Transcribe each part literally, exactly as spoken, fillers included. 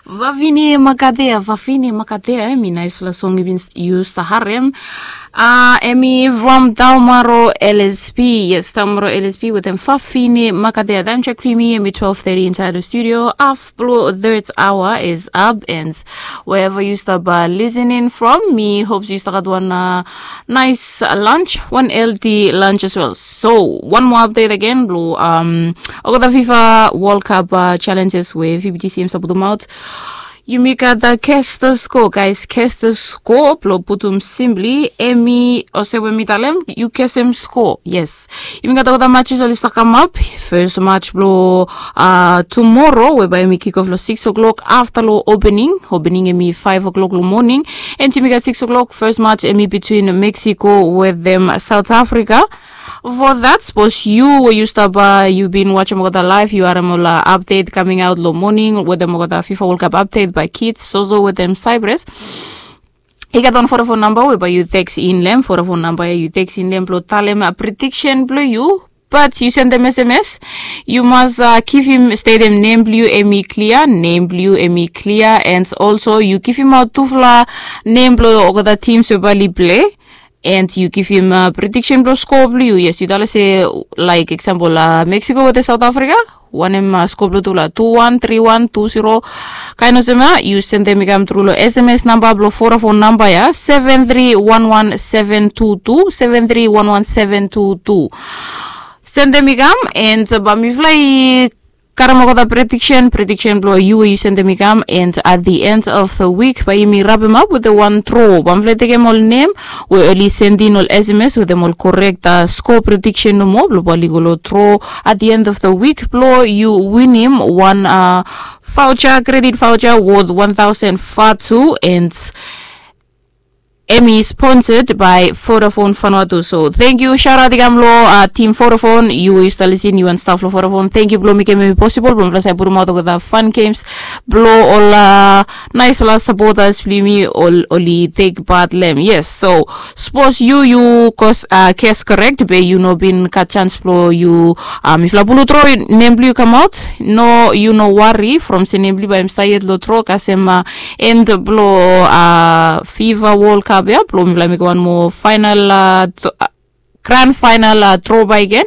Vavine Makadea, Vavine Makadea, em i naisfala song i bin yu stap harem. Uh, em i from Taumaro L S P. Yes, Taumaro L S P with them Vavine Makadea. Time check for me, em i twelve thirty inside the studio. Half blue, third hour is up, and wherever you stop uh, listening from, me hopes you start one uh, nice uh, lunch, one healthy lunch as well. So, one more update again, blue. Um, Okada FIFA World Cup uh, challenges where V B T C M Sabutumaut. Yumi gat uh, cast the score, guys. Cast the score, blo putum simply, emi, ose we mi talem, yu kesem score. Yes. Yumi gat uh, the matches oli start come up. First match blo uh, tomorrow, whereby emi kick off lo six o'clock after lo opening. Opening emi five o'clock lo morning. And yumi gat six o'clock, first match emi between Mexico with them South Africa. For that, suppose you where you stop uh, you been watching Mogota live, you are mola update coming out lo morning with the Mogota FIFA World Cup update by Kids, Sozo with them Cyprus. I gat on Vodafone number whereby you text in lem, Vodafone number you text in lem blo talem a prediction blo you. But you send them S M S. You must uh, give him, stay them name blue emi clear, name blue emi clear, and also you give him out tufla name blo okada teams whereby li play. And you give him uh, prediction blo score blue. Yes, you tell us say like example uh, Mexico with South Africa. Wanem uh, score blo tufla two one, three one, two zero. Kain olsem ya, you send them i kam tru lo S M S number blo Vodafone number ya, seven three one one seven two two, seven three one one seven two two. Send them i kam, and uh, ba mi fly karem olgeta prediction, prediction blo you where you send them i kam, and at the end of the week, ba yumi wrap him up with the one draw. Ba mi fly take them all name, we only send in all S M S with them all correct uh, score prediction no more, blo ba li go lo draw at the end of the week, blo you win him one uh, voucher, credit voucher worth one thousand fatu, and Emmy sponsored by Vodafone Vanuatu. So thank you, shout out i kam lo uh, team Vodafone. You where you start listen, you and staff lo Vodafone. Thank you blo mekem emi possible. Blo mi fala sai putum out olgeta fun games. Blo ol uh, nice la supporters blo yumi ol oli take part lem. Yes, so suppose you you cause uh, guess correct, be you no bin gat chance blo you uh, mi fala bulu draw name blo you come out. No, you no worry from se name blo you ba him start yet lo draw kasem uh, end blo uh, FIFA World Cup ya, blo mi fala mekem one more final uh, grand final uh, draw by again.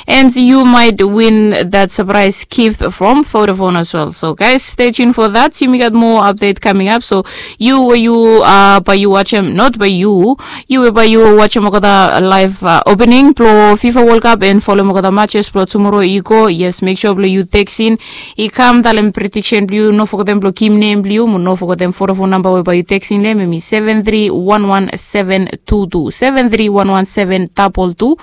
And you might win that surprise gift from Vodafone as well. So guys, stay tuned for that. Yumi gat more update coming up. So you where you uh, ba you watch him, not by you. You where ba you watch him okada live uh, opening blo FIFA World Cup and follow him okada matches blo tomorrow i go. Yes, make sure blo you text in i kam talem prediction blo you, no forget them blo kim name blo you, no forget them Vodafone number whereby you text in them, emi seven three one one seven two two, seven three one one seven double two.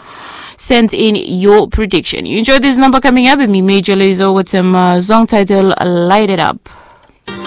Send in your prediction. You enjoy this number coming up, emi Major Lazer with some uh, song title Light It Up.